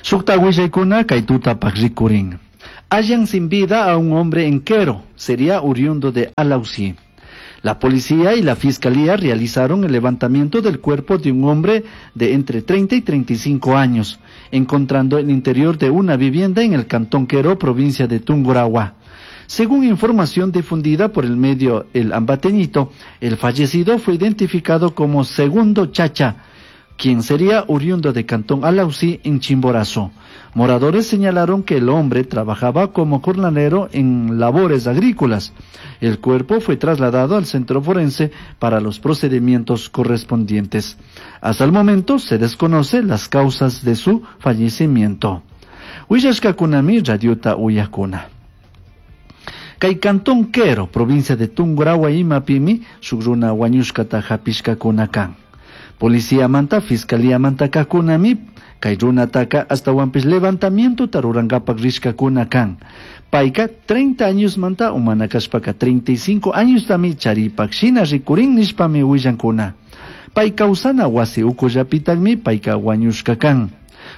Shukta willaykuna kay tutapaq rikurin. Hallan sin vida a un hombre en Quero, sería oriundo de Alausí. La policía y la fiscalía realizaron el levantamiento del cuerpo de un hombre de entre 30 y 35 años, encontrando el interior de una vivienda en el cantón Quero, provincia de Tungurahua. Según información difundida por el medio El Ambateñito, el fallecido fue identificado como Segundo Chacha, quien sería oriundo de Cantón Alausí en Chimborazo. Moradores señalaron que el hombre trabajaba como jornalero en labores agrícolas. El cuerpo fue trasladado al centro forense para los procedimientos correspondientes. Hasta el momento se desconoce las causas de su fallecimiento. Willashkakunami radiota uyakuna. Kay Cantón Quero, provincia de Tungurahua imapimi, shuk runa wañushkata hapishkakuna kan. Policía manta, fiscalía manta kakunami, kay runataka ashtawanpish levantamiento rurankapak rishkakuna kan. Payka 30 años manta umana kashpaka 35 años tami charipak shina rikurin nishpami willankuna. Pay kawsana wasi ukullapitagmi payka wañushka kan.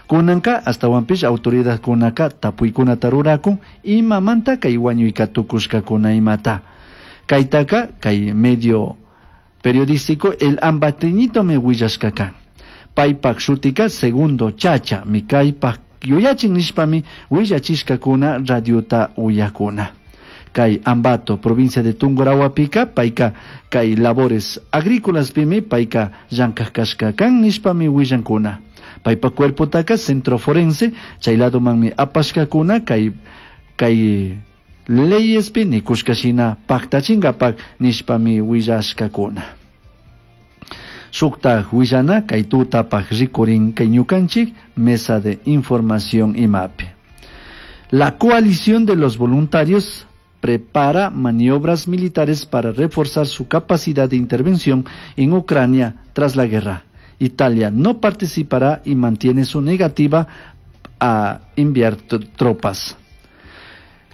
Kunanka ashtawanpish autoridadkunaka tapuykunata rurakun imamanta kay wañuyka tukushkakuna imata. Kaytaka kay medio periodístico El Ambateñito me willashka kan. Paypak shutika Segundo Chacha mi kaypak yuyachin nishpami willachishkakuna radiota uyakuna. Kay Ambato, provincia de Tungurahuapika, payka kay labores agrícolas pimi payka llankaj kashka kan nishpami willankuna. Paypa cuerpotaka centro forense, chay ladomanmi apashkakuna kay leyespi nikushka shina paktachinkapak nishpami willashkakuna. Shukta willana kay tutapak rikurin kay ñukanchik mesa de información imapi. La coalición de los voluntarios prepara maniobras militares para reforzar su capacidad de intervención en Ucrania tras la guerra. Italia no participará y mantiene su negativa a enviar tropas.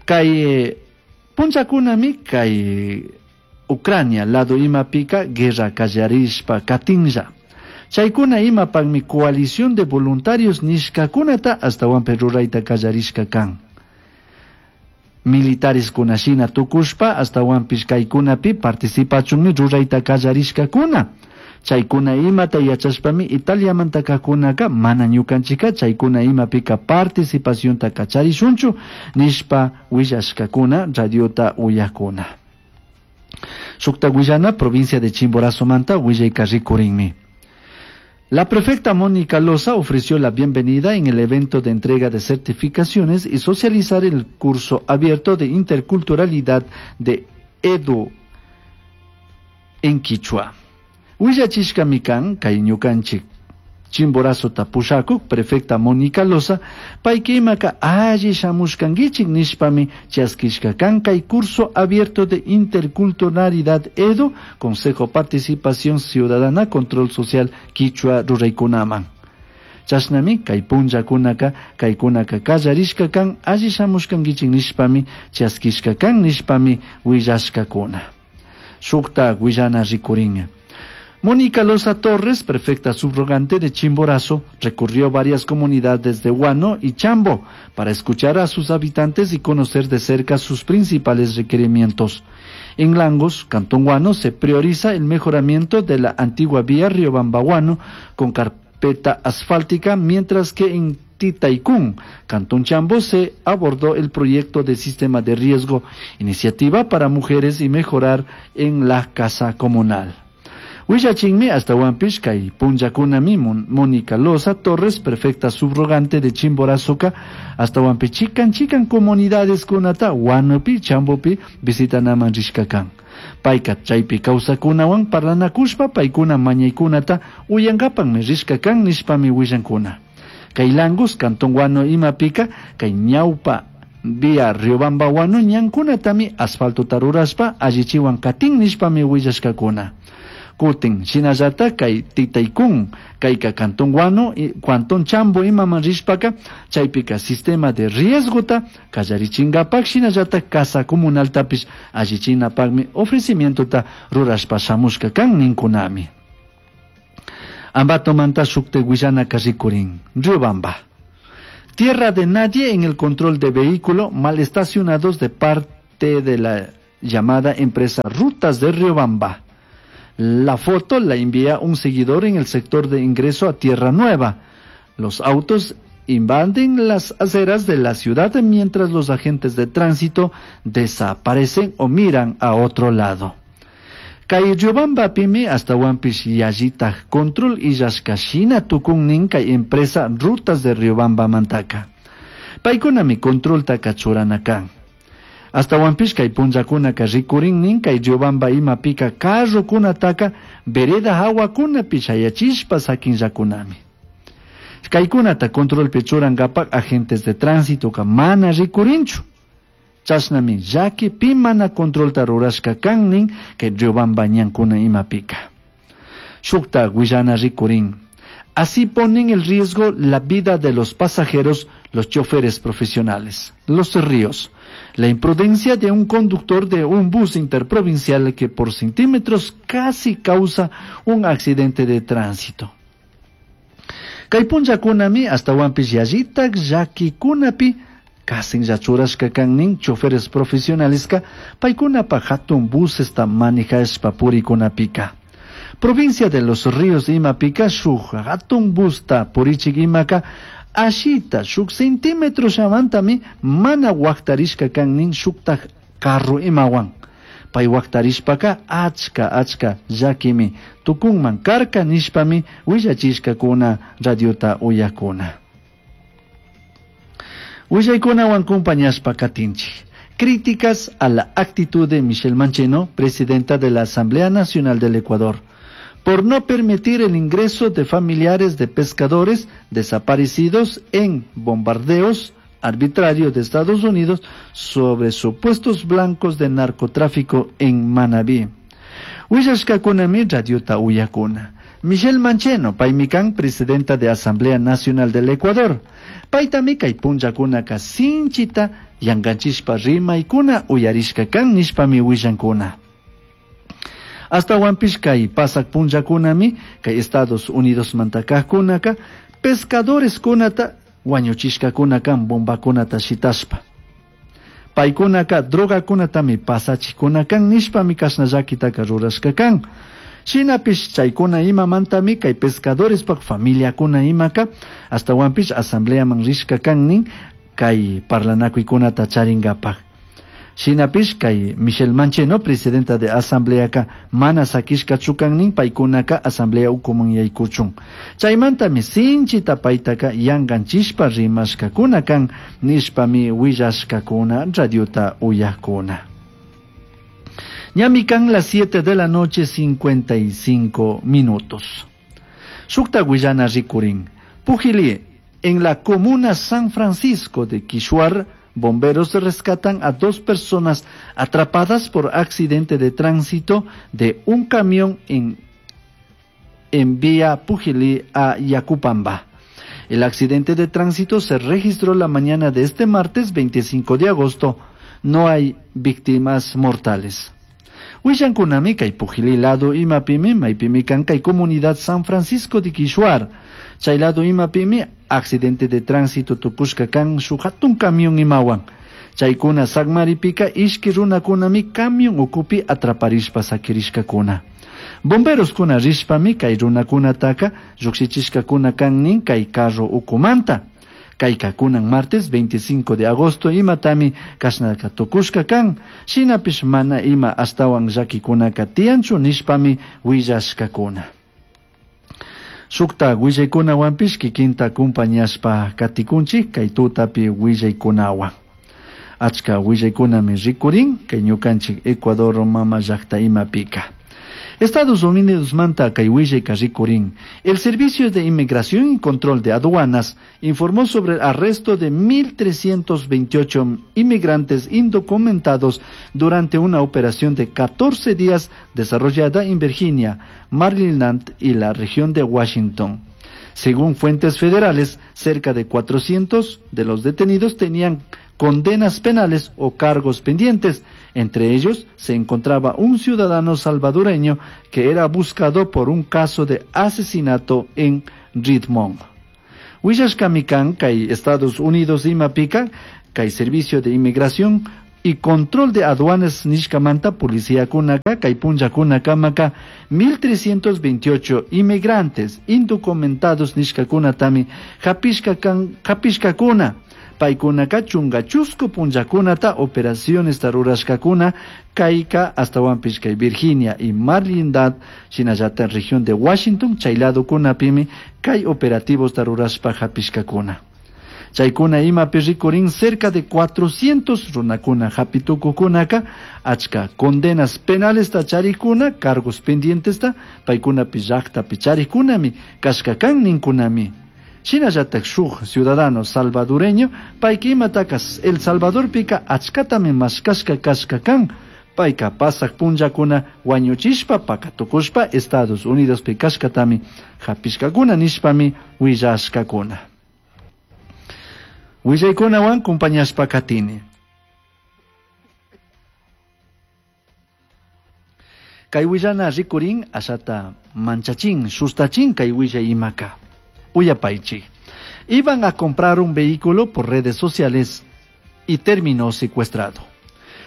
Kay punchakunami kay Ucrania lado imapika guerra kallarishpa katinlla. Chaykuna imapakmi coalición de voluntarios nishkakunata ashtawanpi rurayta kallarishka kan. Militares kunashina tukushpa ashtawanpish kaykunapi participachunmi rurayta kallarishkakuna. Chaykuna imata yachashpami Italiamanta kakunaka mana ñukanchika chaykuna imapika participacionta kacharishunchu nishpa willashkakuna radiota uyakuna. Shukta willana provincia de Chimborazo manta willayka rikurinmi. La prefecta Mónica Loza ofreció la bienvenida en el evento de entrega de certificaciones y socializar el curso abierto de interculturalidad de Edu en Quichua. Willachishkami kan kay ñukanchik Chimborazo pushakuk prefecta Mónica Loza payka imaka alli shamushkankichik nishpami chaskishka kan kay curso abierto de interculturalidad Edu, Consejo Participación Ciudadana, Control Social Quichua ruraykunaman. Chashnami kay punllakunaka kaykunaka kallarishka kan alli shamushkankichik nishpami chaskishka kan nishpami willashkakuna. Shukta willana rikurin. Mónica Loza Torres, prefecta subrogante de Chimborazo, recorrió varias comunidades de Huano y Chambo para escuchar a sus habitantes y conocer de cerca sus principales requerimientos. En Langos, Cantón Huano, se prioriza el mejoramiento de la antigua vía Riobamba-Huano con carpeta asfáltica, mientras que en Titaicún, Cantón Chambo, se abordó el proyecto de sistema de riesgo, iniciativa para mujeres y mejorar en la casa comunal. Willachinmi ashtawanpish kay punllakunami Mónica Loza Torres, prefecta subrogante de Chimborazoka, ashtawanpish chikan chikan comunidades kunata Huanopi, Chambopi visitanaman rishka kan. Payka chaypi kawsakunawan parlanakushpa paykuna mañaykunata uyankapanmi rishka kan nishpami willankuna. Kay Langos, Cantón Huano imapika, kay ñawpa vía Riobamba Huano ñankunatami asfaltota rurashpa allichiwan katin nishpami willashkakuna. Kutin, shinallata kay Titaicún, kayka Cantón Huano, Cantón Chambo imaman rishpaka, chaypika sistema de riesgota kallarichinkapak, shinallata casa comunaltapish allichinapakmi ofrecimientota rurashpa shamushka kan ninkunami. Ambatomanta shukte willanaka rikurin, Riobamba. Tierra de nadie en el control de vehículo mal estacionados de parte de la llamada empresa Rutas de Riobamba. La foto la envía un seguidor en el sector de ingreso a Tierra Nueva. Los autos invaden las aceras de la ciudad mientras los agentes de tránsito desaparecen o miran a otro lado. Kay Riobambapimi ashtahuanpish yallitaj control illashka shina tukun nin kay empresa Rutas de Riobambamantaka. Paykunami controltaka churana kan. Ashtahuanpish kay punllakunaka rikurin nin kay Riobamba imapika carrokunataka vereda hawakunapi shayachishpa sakinllakunami. Kaykunata controlpi churankapak agentes de tránsito mana rikurinchu. Chashnami llaki pi mana controlta rurashka kan nin kay Riobamba ñankuna imapika. Shukta huillana rikurin. Así ponen en riesgo la vida de los pasajeros, los choferes profesionales. Los Ríos. La imprudencia de un conductor de un bus interprovincial que por centímetros casi causa un accidente de tránsito. Kay punllakunami ashtahuanpish yallitak llakikunapi kasinlla churashka kan nin choferes profesionaleska paykunapa hatun busesta manejashpa purikunapika. Provincia de Los Ríos imapika shuk hatun busta purichik imaka ashita shuk centímetro llamantami mana waktarishka kan nin shuktaj carro imawan. Pay waktarishpaka achka achka llakimi tukunman karka nishpami willachishkakuna radiota uyakuna. Willaykunawan compañashpa katinchik. Críticas a la actitud de Michelle Mancheno, presidenta de la Asamblea Nacional del Ecuador, por no permitir el ingreso de familiares de pescadores desaparecidos en bombardeos arbitrarios de Estados Unidos sobre supuestos blancos de narcotráfico en Manabí. Willashkakunami radiota uyakuna. Michelle Mancheno, paymi kan, presidenta de Asamblea Nacional del Ecuador. Paytami kay punllakunaka sinchita yanganchishpa rimaykuna uyarishka kan nishpami willankuna. Ashtahuanpish kay pasak punllakunami kay Estados Unidos mantakajkunaka pescadores kunata wañuchishkakuna kan bombakunata shitashpa. Paykunaka drogakunatami pasachikuna kan nishpami kashna llakitaka rurashka kan. Shinapish chaykuna imamantami kay pescadorespaj familiakuna imaka ashtahuanpish asambleaman rishka kan nin kay parlanakuykunata charingapaj. Shinapish kay Michelle Mancheno, presidenta de asambleaka mana sakishkachu kan nin paykunaka asamblea ukuman yaykuchun. Chaymantami sinchita paytaka yanganchishpa rimashkakuna kan nishpami willashkakuna radiota uyakuna. Ñami kan las 7 de la noche 55 minutos. Shukta willana rikurin. Pujilí, en la comuna San Francisco de Quishuar, bomberos rescatan a 2 personas atrapadas por accidente de tránsito de un camión en vía Pujilí a Yacupamba. El accidente de tránsito se registró la mañana de este martes 25 de agosto. No hay víctimas mortales. Willankunami kay Pujilí lado imapimi maypimi kan kay comunidad San Francisco de Quishuar. Chay lado imapimi accidente de tránsito tukushka kan shuk hatun camión imawan. Chaykuna sakmaripika ishki runakunami camión ukupi atraparishpa sakirishkakuna. Bomberos kuna rishpami kay runakunataka llukshichishkakuna kan nin kay carro ukumanta. Kayka kunan martes 25 de agosto imatami kashnaka tukushka kan. Shinapish mana ima ashtawan llakikunaka tiyanchu nishpami willashkakuna. Shukta willaykunawanpish kikinta kumpañashpa katikunchik kay tutapi willaykunawan. Achka willaykunami rikurin kay ñukanchik Ecuador mama llakta imapika. Estados Unidos manta kay willayka rikurin. El Servicio de Inmigración y Control de Aduanas informó sobre el arresto de 1.328 inmigrantes indocumentados durante una operación de 14 días desarrollada en Virginia, Maryland y la región de Washington. Según fuentes federales, cerca de 400 de los detenidos tenían condenas penales o cargos pendientes. Entre ellos se encontraba un ciudadano salvadoreño que era buscado por un caso de asesinato en Richmond. Willashkami kan kay Estados Unidos imapika kay Servicio de Inmigración y Control de Aduanas nishkamanta policiakunaka kay punllakunakamaka 1328 inmigrantes indocumentados nishkakunatami hapishkakuna. Paykunaka chunga chusku punllakunata operacionesta rurashkakuna kayka astawanpish kay Virginia y Maryland shinallata en región de Washington chay ladokunapimi kay operativos rurashpa hapishkakuna. Chaykuna imapi rikurin cerca de 400 runakuna hapitukukunaka achka condenas penalesta charikuna cargos pendientesta paykunapi llaqtapi charikunami kashka kan ninkunami. Shinallatak shuk ciudadano salvadoreño payka imataka El Salvadorpika achkatami mashkashka kashka kan payka pasaq punllakuna wañuchishpa pakatukushpa Estados Unidospi kashkatami hapishkakuna nishpami willashkakuna. Willaykunawan compañashpa katini. Kay willana rikurin ashata manchachin, sustachin kay willay imaka. Uyapaychi. Iban a comprar un vehículo por redes sociales y terminó secuestrado.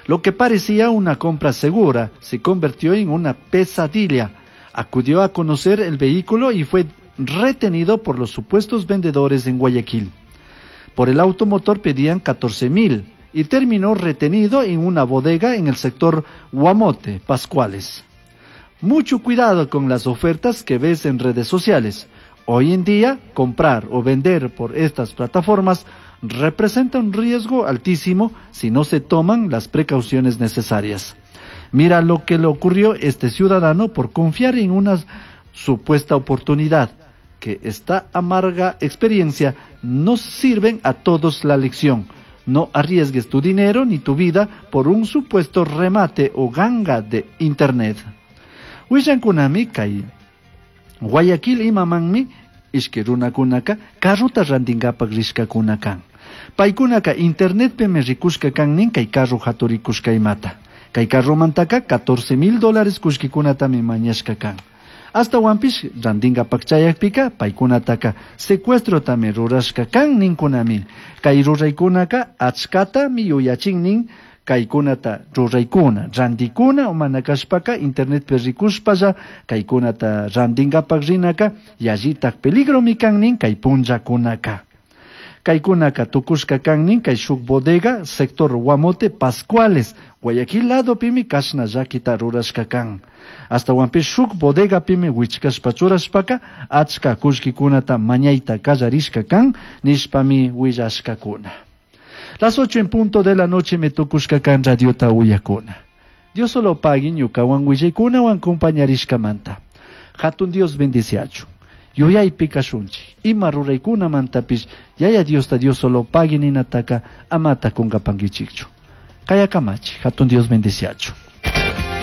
Lo que parecía una compra segura se convirtió en una pesadilla. Acudió a conocer el vehículo y fue retenido por los supuestos vendedores en Guayaquil. Por el automotor pedían 14,000 y terminó retenido en una bodega en el sector Guamote, Pascuales. Mucho cuidado con las ofertas que ves en redes sociales. Hoy en día, comprar o vender por estas plataformas representa un riesgo altísimo si no se toman las precauciones necesarias. Mira lo que le ocurrió a este ciudadano por confiar en una supuesta oportunidad. Que esta amarga experiencia nos sirven a todos la lección. No arriesgues tu dinero ni tu vida por un supuesto remate o ganga de internet. Willankunami kay Guayaquil imamanmi ishki runakunaka carruta rantinkapak rishkakuna kan. Paykunaka internetpimi rikushka kan nin kay carro haturikushka imata. Kay carromantaka $14,000 kullkikunatami mañashka kan. Astawanpish rantinkapak chayakpika paykunataka secuestrotami rurashka kan ninkunami. Kay ruraykunaka achkatami yuyachin nin kaykunata ruraykuna, rantikuna o mana kashpaka internetpi rikushpalla kaykunata rantinkapak rinaka yallitak peligromi kan nin kay punllakunaka. Kaykunaka tukushka kan nin kay shuk bodega sector Guamote Pascuales Guayaquil ladopimi kashna llakita rurashka kan. Astawanpish shuk bodegapimi wichkashpa churashpaka achka kullkikunata mañayta kallarishka kan nishpami willashkakuna. Las 8 en punto de la noche me tukushka kan radiota uyakuna. Dios solo pagui ñukawan willaykunawan compañarishkamanta. Hatun Dios bendiciachu. Yuyaypi kashunchik. Ima ruraykunamantapish yaya Diosta Dios solo pagui ninataka amata kunkapankichikchu. Kayakamachi. Hatun Dios bendiciachu.